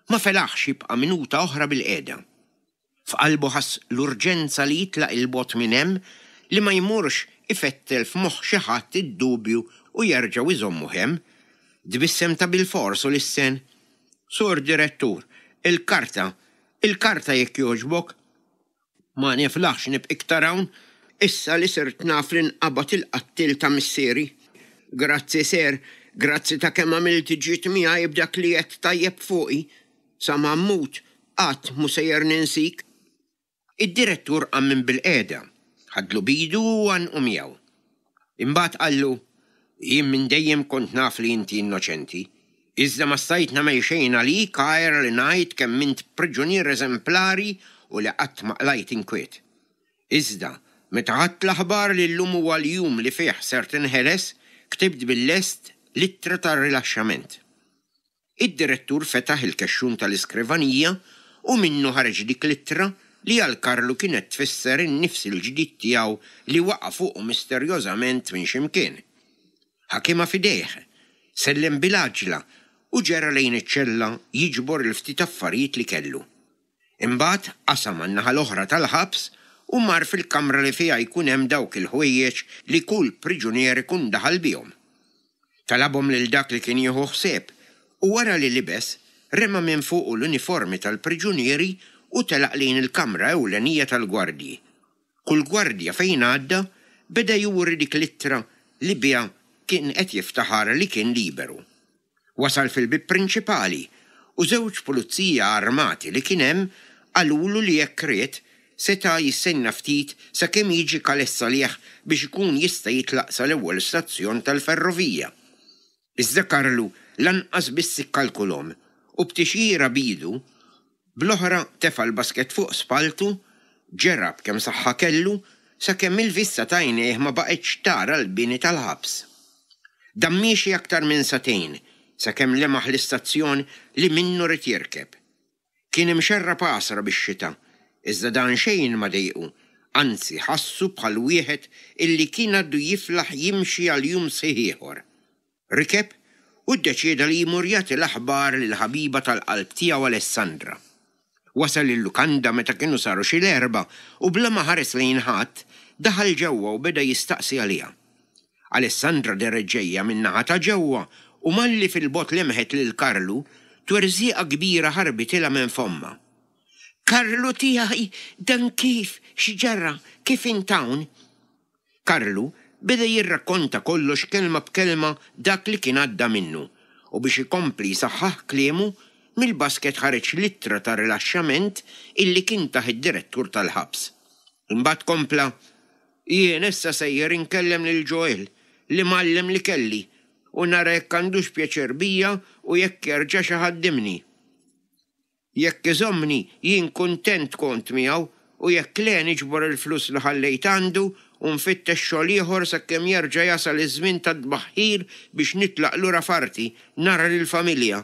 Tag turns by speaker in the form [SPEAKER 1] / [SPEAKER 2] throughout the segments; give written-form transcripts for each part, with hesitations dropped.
[SPEAKER 1] Ma felaħx jibqa' minuta oħra bilqiegħda. F'qalbu ħass l-urġenza li jitlaq 'il bogħod minn hemm, li ma jmurx ifettel f'moħħ xi ħadd id-dubju u jerġgħu jżommuh hemm. Tbissem ta' bilfors u lissen, Sur Direttur, il-karta, il-karta jekk jogħġbok. Ma niflaħx nibqa' iktar hawn, issa li sirt naf li nqabad il-qattiel ta' missieri. Grazzi Sir, grazzi ta' kemm għamilt ġid miegħi b'dak li għedt tajjeb fuqi. Sa ma mmut, qatt mhu sejjer ninsik. Id-direttur qam minn bilqiegħda, ħadlu b'idu u għannqu miegħu. Imbagħad qallu, Jien minn dejjem kont naf li inti innoċenti, iżda ma stajt nagħmel xejn għalik għajr li ngħid kemm int priġunier eżemplari u li qatt ma qlajt inkwiet. Iżda, meta ħadt l-aħbar li llum huwa l-jum li fih ser tinħeles, ktibt bil-lest l-ittra ta' rilaxxament. Id-direttur fetaħ il-kexxun tal-iskrivanija u minnu ħareġ dik l-ittra li għal Karlu kienet tfisser in-nifs il-ġdid tiegħu li waqa' fuqu misterjożament minn xi mkien. Ħakimha f'idejh, sellem bil-għaġla u ġera lejn iċ-ċella jiġbor il-ftit affarijiet li kellu. Imbagħad qasam għan-naħa l-oħra tal-ħabs u mar fil-kamra li fiha jkun hemm dawk il-ħwejjeġ li kull priġunier ikun daħal bihom. Talabhom lil dak li kien jieħu ħsieb u wara li libes, rema minn fuqu l-uniformi tal-priġunieri u telaq lejn il-kamra ewlenija tal-gwardji. Kull gwardja fejn għadda beda juri dik l-ittra li biha kien qed jiftaħar li kien liberu. Wasal fil-bieb prinċipali u żewġ pulizija armati li kien hemm qalulu li jekk ried seta' jistenna ftit sakemm jiġi Calais għalih biex ikun jista' jitlaq sal-ewwel stazzjon tal-ferrovija. Iżda Karlu lanqas biss ikkalkulhom u b'tixjira b'idu, bl-oħra tefa' l-basket fuq spalltu, ġera b'kemm saħħa kellu sakemm il-vista t'għajnejh ma baqgħetx tara l-bini tal-ħabs. Dam miexi aktar minn sagħtejn sakemm lemaħ l-istazzjon li minnu ried jirkeb. Kien imxerrab għasra bix-xita, iżda dan xejn ma dejqu, anzi ħassu bħal wieħed illi kien għadu jiflaħ jimxi għal jum sħiħ ieħor. Rikeb u ddeċieda li jmur jagħti l-aħbar lill-ħabiba tal-qalb tiegħu Alessandra. Wasal il-lukanda meta kienu saru xi l-erbgħa u bla ma ħares lejn ħadd, daħal ġewwa u beda jistaqsi għaliha. Alessandra dehret ġejja min-naħa ta' ġewwa u malli fil-bogħod lemħet lil Karlu, twerżieqa kbira ħarbitilha minn fommha. Karlu tiegħi, dan kif, x'ġara, kif int hawn? Karlu beda jirrakkonta kollox kelma b'kelma dak li kien għadda minnu u biex ikompli jsaħħaħ kliemu, mill-basket ħareġ l-ittra ta' rilaxxament illi kien tah id-direttur tal-ħabs. Imbagħad kompla, Jien issa sejjer inkellem lil Joel, l-imgħallem li kelli, u nara jekk għandux pjaċir bija u jekk jerġax iħaddimni. Jekk iżommni, jien kuntent kont miegħu, u jekk le niġbor il-flus li ħallejt għandu u nfittex xogħol ieħor sakemm jerġa' jasal iż-żmien tat-tbaħħir biex nitlaq lura f'arti, nara lill-familja.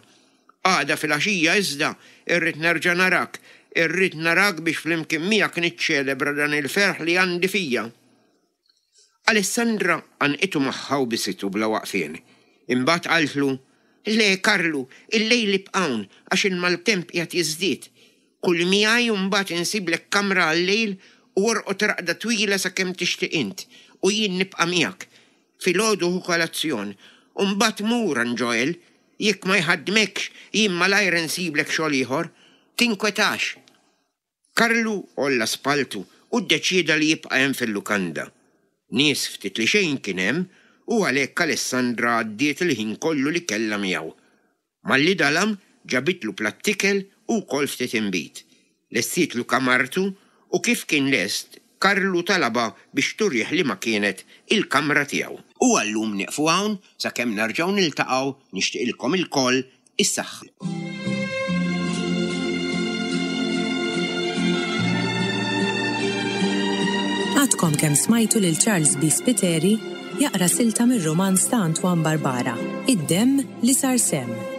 [SPEAKER 1] Għada filgħaxija iżda, irrid nerġa' narak, irrid narak biex flimkien miegħek niċċelebra dan il-ferħ li għandi fija. Alessandra għannqitu magħha u bisitu bla waqfien. Imbagħad qaltlu, Le, Karlu, illejl ibqa' hawn għax il-maltemp qiegħed jiżdied. Kul miegħi u mbagħad insiblek kamra għal-lejl u orqod raqda twila sakemm tixtieq int, u jien nibqa' miegħek. Filgħodu ħu kolazzjon u mbagħad mur għand Joel. Jekk ma jħaddmekx, jien malajr insiblek xogħol ieħor. Tinkwetax. Karlu għolla spalltu u ddeċieda li jibqa' hemm fil-lukanda. Nies ftit li xejn kien hemm u għalhekk Alessandra għaddiet il-ħin kollu li kellha miegħu. Malli dalam, ġabitlu platt ikel u wkoll ftit inbid. Lestietlu kamartu u kif kien lest, Karlu talabha biex turih liema kienet il-kamra tiegħu. U għal-lum nieqfu hawn sakemm nerġgħu niltaqgħu nixtieqilkom ilkoll is-saħħa.
[SPEAKER 2] Għadkom kemm smajtu lil Charles B. Spiteri jaqra silta mir-rumanz ta' Antoine Barbara, Id-Demm li Sar Semm.